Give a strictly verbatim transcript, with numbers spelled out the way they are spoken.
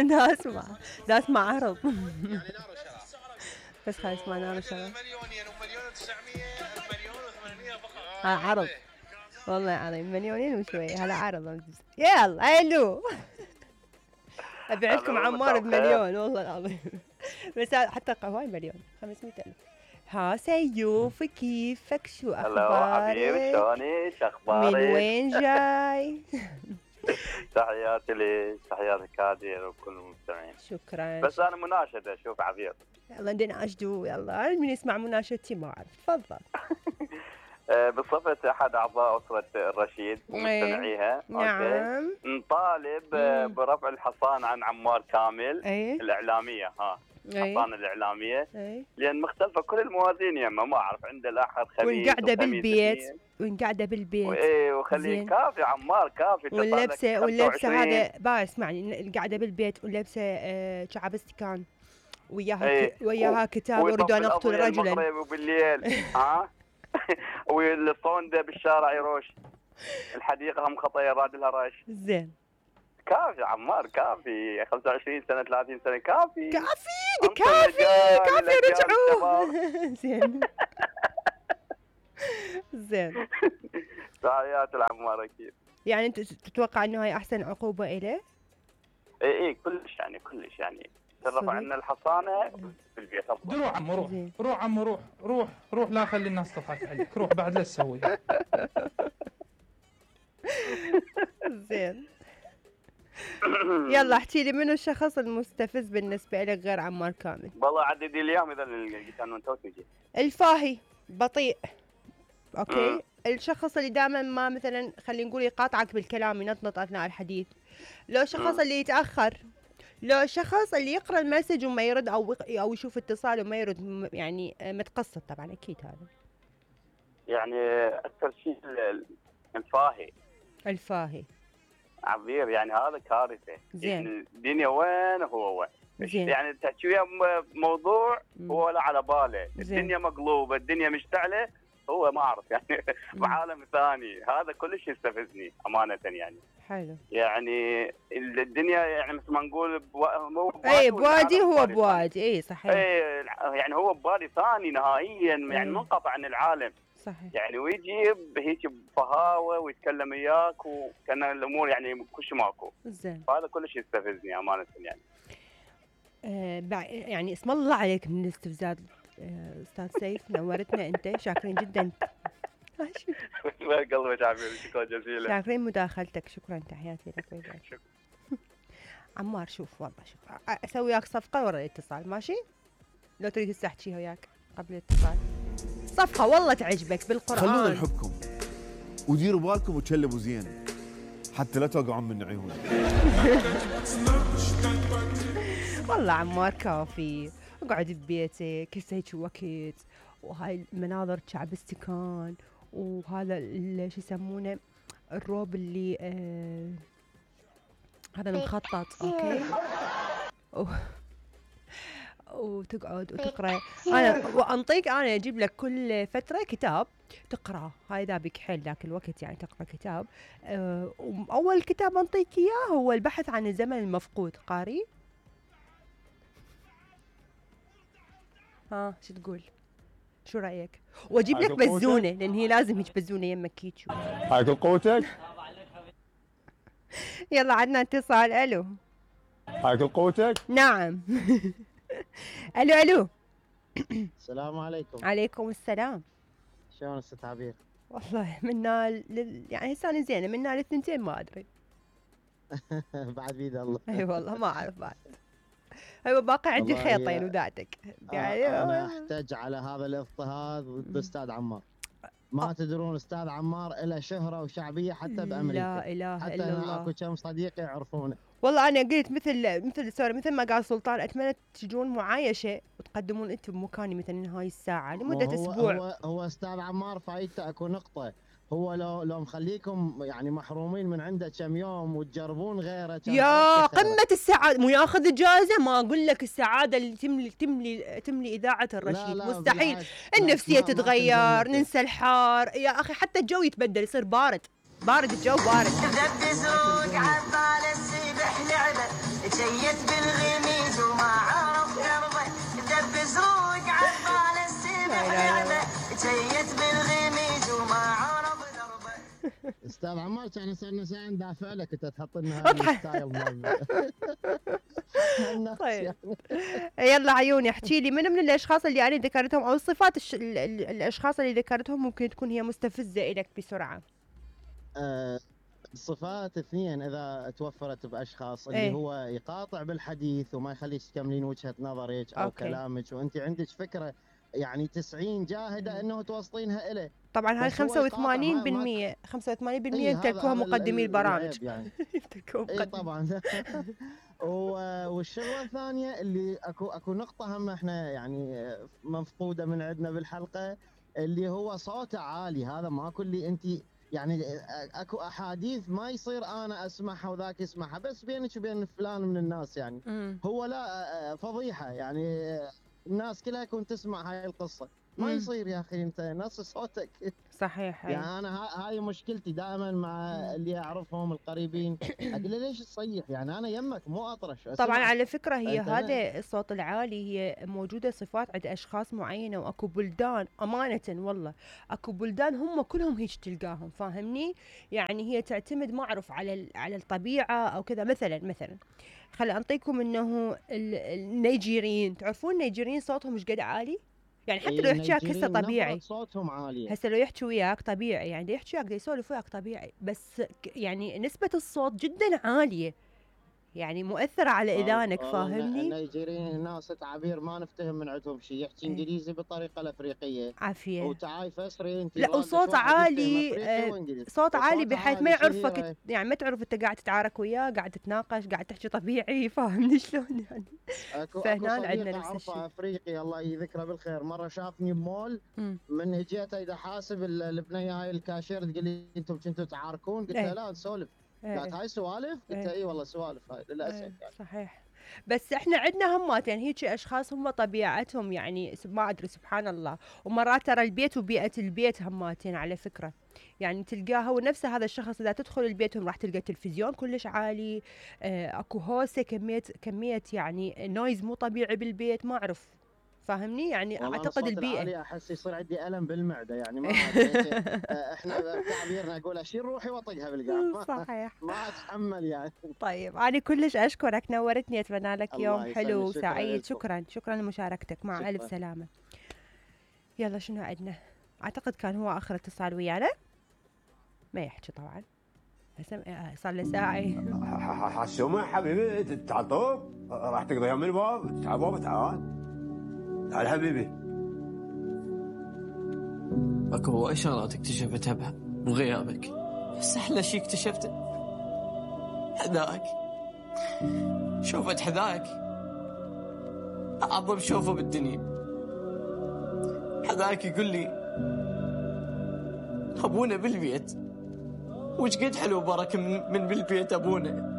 دا اسمع دا اسمع عرض. يعني نار وشراب بس خلاص اسمع نار وشراب. مليونين ومليون وتسعمية مليون وثمانمية فقط. ها عرض والله العظيم مليونين وشوي هلا عرض. يلا الو ابيع لكم عمار بمليون والله العظيم. بس حتى هواي مليون خمسمية ألف. ها سيوف كيفك شو اخبارك؟ حبيبي شلونك اخبارك؟ من وين جاي؟ تحياتي لك تحياتي كادر وكل المستمعين. شكرا. بس انا مناشده شوف عبير. يلا نناشدوا يلا من يسمع مناشدتي ما اعرف تفضل. بصفة احد اعضاء اسرة الرشيد ومستمعيها نعم نطالب برفع الحصان عن عمار كامل. أي. الاعلامية ها حصان الاعلامية. أي. لان مختلفة كل الموازين يما ما اعرف عنده الاحد خميس وقاعدة بالبيت وقاعدة بالبيت وايه وخليه كافي عمار كافي. واللبسة واللبسة هذا با اسمعني قاعدة بالبيت ولبسة آه شعب استكان وياها ايه. وياها كتاب اريد ان اقتل رجلا وبالليل ها والصوندة بالشارع يروش الحديقة هم خطية راد لها رش. زين كافي عمار كافي خمسة وعشرين سنة ثلاثين سنة كافي كافي كافي كافي رجعوه. زين زين تحيات العمار اكيد. يعني انت تتوقع انه هاي احسن عقوبة اليه؟ اي اي كلش يعني كلش يعني ترفع عنا الحصانة في البيت. روح عمو روح روح عمو روح روح روح لا خلي الناس تضحك عليك روح بعد لا تسوي. زين يلا احكي لي منو الشخص المستفز بالنسبة لك غير عمار كامل؟ والله عددي اليوم اذا القانون توتجي. الفاهي بطيء اوكي. م. الشخص اللي دائما ما مثلا خلينا نقول يقاطعك بالكلام ينطنط اثناء الحديث. لو شخص م. اللي يتاخر. لو الشخص اللي يقرا المسج وما يرد او او يشوف اتصال وما يرد يعني متقصد طبعا اكيد هذا. يعني اكثر شيء الفاهي. الفاهي عبير يعني هذا كارثه. زين الدنيا وين هو وين. زين. يعني تحكي وياه موضوع م. هو لا على باله. زين. الدنيا مقلوبه الدنيا مشتعله هو ما اعرف يعني بعالم ثاني. هذا كلش يستفزني امانه يعني. حلو. يعني الدنيا يعني مثل ما نقول بو... اي بوادي هو بوادي اي صحيح. اي يعني هو بوادي ثاني نهائيا يعني منقطع عن العالم. صحيح. يعني ويجي هيك بفهاوه ويتكلم وياك وكان الامور يعني كلش ماكو. زين. هذا كلش يستفزني امانه يعني. آه يعني اسم الله عليك من الاستفزاز آه استاذ سيف نورتنا انت شاكرين جدا. ما قلبك عبير شكرا جزيلا. شاكرين مداخلتك شكرا تحياتي لك وياك. شكرا. عمار شوف والله شوف اسوي وياك صفقه ورا الاتصال ماشي؟ لو تريد هسه احكي وياك قبل الاتصال صفقه والله تعجبك بالقران. خلونا نحبكم وديروا بالكم وتشلبوا زين حتى لا توقعون من عيونك. والله عمار كافي اقعد ببيتك هسه هيك وقت وهاي المناظر شعب استكان وهذا شو يسمونه الروب اللي آه هذا المخطط اوكي وتقعد وتقرا. انا وانطيك انا اجيب لك كل فتره كتاب تقرا هاي ذابك حيل ذاك الوقت يعني تقرا كتاب. أه واول كتاب انطيك اياه هو البحث عن الزمن المفقود. قاري؟ ها شو تقول؟ شو رايك؟ واجيب لك بزونه لان هي لازم هيك بزونه يمك هيك. هاي كل قوتك؟ يلا عندنا اتصال. الو هاي كل قوتك؟ نعم. الو الو السلام عليكم. عليكم السلام. شلون استاذ عبير؟ والله منا لل... يعني هسه انا زينه منا الاثنتين ما ادري. بعد بيد الله. اي أيوة والله ما اعرف بعد. ايوه باقي عندي خيطين وذاتك يعني انا احتاج على هذا الاضطهاد ضد استاذ عمار. ما أه. تدرون استاذ عمار له شهره وشعبيه حتى بامريكا. لا اله حتى الا الله. اكو كم صديق يعرفونه. والله انا قلت مثل مثل سوري مثل ما قال سلطان اتمنى تجون معايشه وتقدمون انتم بمكاني مثلا هاي الساعه لمده هو اسبوع. هو هو استاذ عمار فايته اكو نقطه. هو لو لو مخليكم يعني محرومين من عنده كم يوم وتجربون غيره يا قمه السعاده مو ياخذ اجازه. ما اقول لك السعاده اللي تملي تملي تملي اذاعه الرشيد. لا لا مستحيل. النفسيه تتغير ننسى الحار يا اخي حتى الجو يتبدل يصير بارد بارد الجو بارد. دبسوق عبال السبح لعبه جيت بالغميز وما عرف دربه دب زروق عبال السبع لعبه جيت بالغميز وما عرف دربه. استاذ عمار كان صرنا ساعه ندافع لك انت تحط لنا هذا الستايل مال طيب يلا عيوني احكي لي من من الاشخاص اللي انا ذكرتهم او الصفات الش... ال... ال... الاشخاص اللي ذكرتهم ممكن تكون هي مستفزه لك بسرعه. آه الصفات اثنين اذا توفرت باشخاص اللي ايه؟ هو يقاطع بالحديث وما يخليك تكملين وجهه نظرك او أوكي. كلامك وانت عندك فكره يعني تسعين جاهده انه توصلينها إله. طبعا هاي بس هو خمسة يقاطع وثمانين ما- بالمية خمسة وثمانين بالمية إيه، هذا- يمتلكوها هذا ال- مقدمي ال- البرامج. العيب يعني. يمتلكوها اي مقدمي. طبعا. و- والشغله الثانيه اللي اكو اكو نقطه هم احنا يعني مفقوده من عندنا بالحلقه اللي هو صوته عالي. هذا ماكو اللي انت يعني اكو احاديث ما يصير انا اسمعها وذاك يسمعها بس بينك وبين فلان من الناس يعني. مم. هو لا فضيحه يعني الناس كلها كنت تسمع هاي القصه ما مم. يصير يا اخي انت نص صوتك. صحيح. يعني انا ها- هاي مشكلتي دائما مع اللي اعرفهم القريبين اقول له ليش تصيح يعني انا يمك مو اطرش. طبعا أسمعك. على فكرة هي أنت هذا الصوت العالي هي موجودة صفات عند أشخاص معينة وأكو بلدان أمانة والله أكو بلدان هم كلهم هيك تلقاهم فاهمني يعني هي تعتمد ما أعرف على ال- على الطبيعة أو كذا. مثلا مثلا خل أنطيكم إنه ال- النيجيريين تعرفون النيجيريين صوتهم مش قد عالي يعني حتى لو إيه، يحكي هسه النيجيريين طبيعي نبرة صوتهم عاليه. هسه لو يحكي وياك طبيعي يعني دا يحكي وياك دا يسولف وياك طبيعي بس ك- يعني نسبة الصوت جدا عالية يعني مؤثرة على إذانك والله فاهمني. النيجيريين ناس تعابير ما نفتهم من عندهم شيء يحكي إيه. انجليزي بالطريقه الافريقيه عافية. وتعاي فسري انت لا واقف وصوت واحد يفتهم عالي أفريقي آه، وإنجليزي. صوت عالي وصوت بحيث ما عالي يعرفك شهيرة. يعني ما تعرف انت قاعد تتعارك وياه قاعد تتناقش قاعد تحكي طبيعي فاهمني شلون يعني. اكو فهنان اكو عندنا صديق نفس اعرفه الشيء. افريقي الله يذكره بالخير مره شافني بمول مم. من هجيته اذا حاسب ال- البنيه هاي الكاشير تقول لي انتم كنتوا تعاركون قلت إيه. لها لا نسولف إيه. قالت هاي سوالف قلت إيه. لها اي والله سوالف هاي للاسف إيه، يعني. صحيح. بس احنا عندنا همات يعني هيك اشخاص هم طبيعتهم يعني سب- ما ادري سبحان الله. ومرات ترى البيت وبيئه البيت هماتين على فكره يعني تلقاها ونفس هذا الشخص اذا تدخل البيت راح تلقى التلفزيون كلش عالي آه، اكو هوسه كميه كميه يعني نويز مو طبيعي بالبيت ما اعرف فاهمني يعني والله اعتقد الصوت البيئه. العالي احس يصير عندي الم بالمعده يعني ما أدري. آه، احنا تعبيرنا اقول اشيل روحي واطقها بالقاع ما- صحيح. ما اتحمل يعني. طيب أنا كلش أشكرك نورتني أتمنى لك الله يوم يسلمك، حلو شكراً وسعيد. لكم. شكرا شكرا لمشاركتك مع ألف شكراً. سلامة. يلا شنو عندنا أعتقد كان هو آخر اتصال ويانا ما يحكي طبعا هسه آه، صار له ساعة. حسومة حبيبي تعال طوب راح تقضيها من الباب تعال بابا تعال تعال حبيبي. اكو هواي شغلات اكتشفتها بها من غيابك بس احلى شي اكتشفته حذاك. شوفت حذاك اعظم شوفه بالدنيا. حذاك يقول لي ابونا بالبيت وش قد حلو بركه من, من بالبيت ابونا.